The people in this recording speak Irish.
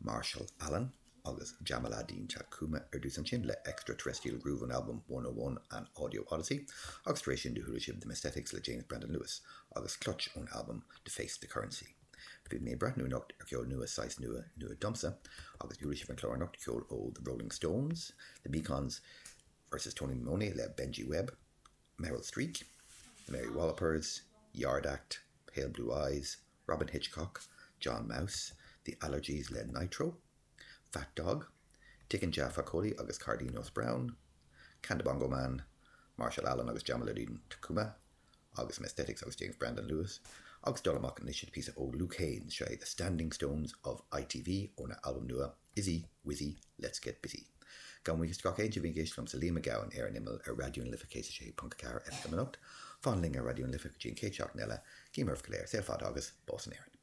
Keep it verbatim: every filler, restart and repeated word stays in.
Marshall Allen agus Jamaaladeen Tacuma ar dtús ansin le Extraterrestrial Groove ón albam one oh one An Audio Odyssey agus tar éis sin do chuala sibh The Messthetics le James Brandon Lewis agus Clutch ón albam Deface the Currency. Bhí mé ag breathnú anocht ar ceol nua saghas nua nua domsa agus chuala sibh an clár anocht ceol ó The Rolling Stones, The Mekons versus Tony Iommi le Benji Webb, Meryl Streak, The Mary Wallopers, Yard Act, Pale Blue Eyes, Robyn Hitchcock, John Maus, The Allergies le Nitro, Fat Dog, Tiken Jah Fakoly agus Carlinhos Brown, Kanda Bongo Man, Marshall Allen agus Jamaaladeen Tacuma, agus Messthetics agus James Brandon Lewis, agus dul amach anois le píosa ó Luke Haines seo The Standing Stones of ITV óna albam nua Izzy Wizzy Let's Get Busy. Gabhaim buíochas de gach éinne a bhí ag éisteacht liomsa Liam Mac Gabhann ar an imeall ar Raidió na Life céad a sé ponc a ceathair FM anocht, fan linn ar Raidió na Life go dtí an chéad seachtain eile, guím oraibh go léir, saol fada agus bás in Éirinn.